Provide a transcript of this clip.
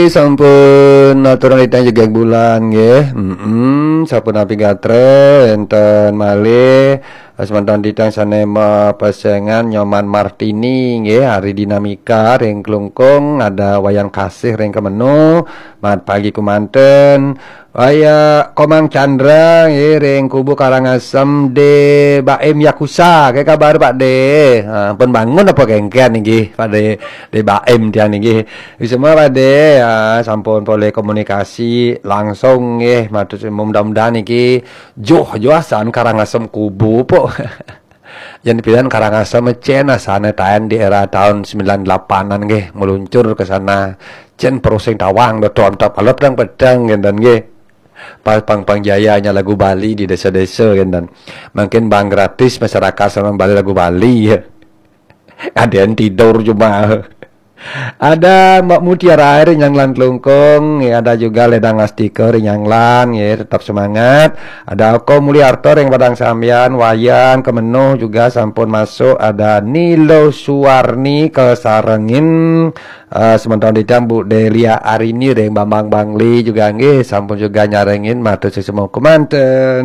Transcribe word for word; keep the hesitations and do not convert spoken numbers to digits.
Sampun aturang titang jegeg bulan nggih. Mm-mm, sampun napi gatre enten malih semeton titang sane mapesengan Nyoman Martini nggih, Ari Dinamika ring Klungkung, ada Wayan Kasih ring Kemenu, mat pagi kumanten. Waya Komang Chandra nggih ring Kubu Karangasem, De Baim Yakusa, ke kabar Pak De? Ha, pun bangun apa kengken nggih Pak De, De Baim tiang nggih. Semua Pak De, ya, sampun polih komunikasi langsung nggih, matur suwun, mudah-mudahan niki joh-joh asan Karangasem Kubu pok. Yen pidan Karangasem cen asane taen di era tahun sembilan delapan-an nggih, meluncur ke sana. Cen perusing tawang do tom tap alot dang pedang ngenten nggih. Pas pang-pang jayanya lagu Bali di desa-desa ngenten. Mungkin bang gratis masyarakat sama Bali lagu Bali ya. Ada yang tidur cuma. Ada Mbak Mutiara Air Nyanglan Klungkung, ya, ada juga Ledang Astika ring Nyanglan, ya, tetap semangat. Ada Oko Mulyarto ring Padang Sambian, Wayan Kemenuh juga sampun masuk, ada Nilo Suwarni kesarengin, eh, sementara di Bu Delia Arini ring Bambang Bangli juga nggih sampun juga nyarengin, matur suwun kemanten.